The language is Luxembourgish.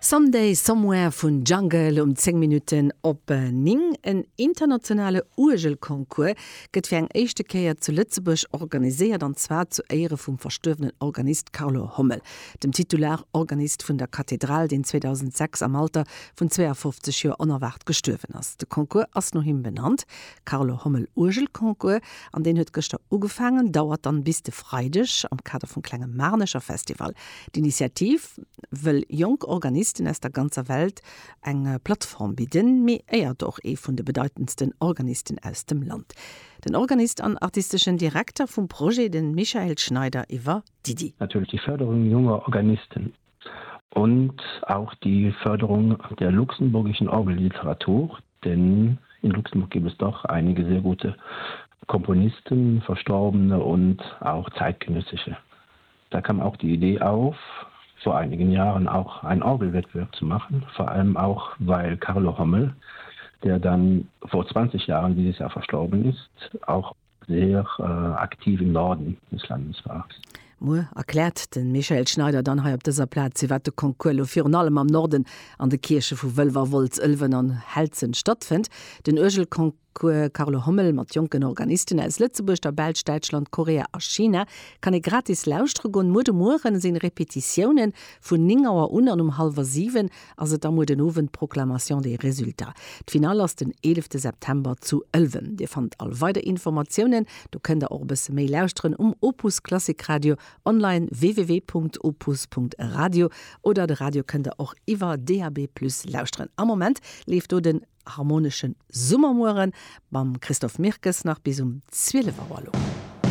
Someday Somewhere vun Jungle um 10 Minutten op 9. En internationale Uergelconcours gëtt fir eng éischte Kéier zu Lëtzebuerg organiséiert, an zwar zu Éiere vum verstuerwenen Organist Carlo Hommel, dem Titular-Organist vun der Kathedral, deen 2006 am Alter vun 52 Joer onerwaart gestuerwen ass. De Concours ass no him benannt, Carlo Hommel Uergelconcours, an deen huet gëschter ugefaangen, dauert dann bis de Freideg am Kader vum klenge Maarnecher Festival. D'Initiativ wëll jonk Organisten aus der ganzer Welt eng Plattform bidden, mee éiert och ee vun de bedeitendsten Organisten aus dem Land. Den Organist an artisteschen Direkter vum Projet, de Michael Schneider, iwwer d'Iddi. Natürlich die Förderung junger Organisten und auch die Förderung der luxemburgischen Orgelliteratur, denn in Luxemburg gibt es doch einige sehr gute Komponisten, Verstorbene und auch zeitgenössische. Da kam auch die Idee auf, vor einigen Jahren auch einen Orgelwettbewerb zu machen, vor allem auch, weil Carlo Hommel, der dann vor 20 Jahren dieses Jahr verstorben ist, auch sehr äh, aktiv im Norden des Landes war. Muer erkläert de Michael Schneider dann hei op dëser Plaz, firwat de Concours elo virun allem am Norden an de Kierche vu Wëlwer, Wolz, Ëlwen an Helzen stattfënnt. Den Uergelconcours Carlo Hommel mat jonken Organisten aus Lëtzebuerg, der Belsch, Däitschland, Korea a China kann ee gratis lauschtere goen. Muer de Mueren sinn Repetitiounen vun 9 Auer un an um hallwer 7 ass et da muer den Owend d'Proclamation des résultats. D'Finall ass den 11 September zu Ëlwen. Dir fannt all weider Informatiounen, do kënnt der och e bësse méi lauschteren, um Opus Klassik Radio online www.opus.radio oder de Radio kënnt der och iwwer DAB+ lauschteren. Am Moment leeft do den Harmoneschen Summermueren mam Christophe Mirkes nach bis um 12 Auer lo.